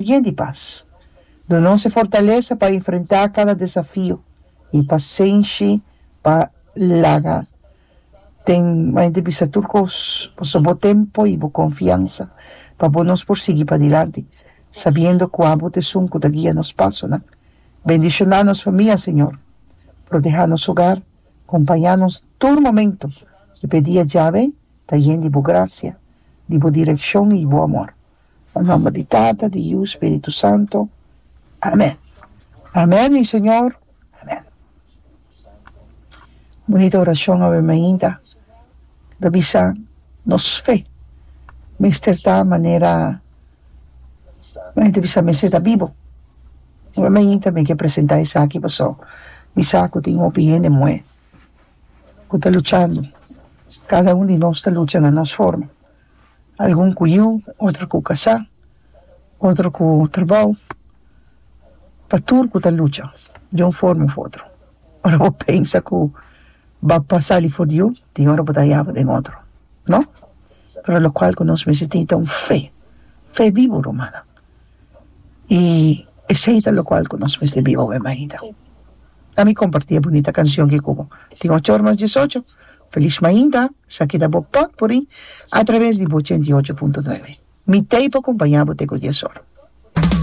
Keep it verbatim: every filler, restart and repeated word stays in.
Yen di pas. Duna nos e fortalesa pa enfrentá kada desafio i pasenshi pa laga den mente bisa tur kos, pasobra bo tempu i bo konfiansa pa bo nos por sigui padilanti, sabiendo ku abo ta esun ku ta guia nos pasonan. Bendishoná nos famia, Señor. Protehá nos hogar, kompañá nos tur momento i p'e dia djawe ta yen di bo grasia, di bo direkshon i bo amor. Na nomber di Tata, di Yu, Spiritu Santo. Amen. Amen, mi Señor. Amen. Bunita oracion awe mainta. Ta bisa nos fe mester ta manera, ta bisa mester ta bibo. Awe mainta mi ke presenta esaki paso mi sa cu tin hopi hende muhe cu ta luchando. Cada un di nos ta lucha na nos forma. Algun ku yu, otro ku kasá, otro ku trabou, pa tur ku ta lucha di un forma of otro. Ora bo pensa ku bo a sali for di un, tin ora bo ta yaba den otro, no? Pero lokual ku nos mester tin ta un fe, fe bibu, rumannan. I esei ta lokual ku nos mester biba awe mainta. Ami kompartí e bunita kanshon ki ku bo. Tin ocho or mas diesocho. Felis mainta, esaki ta bo potpourri a traves di bo ochenta i ocho punto nuebe. Mi t'ei pa kompañá bo te ku dies or.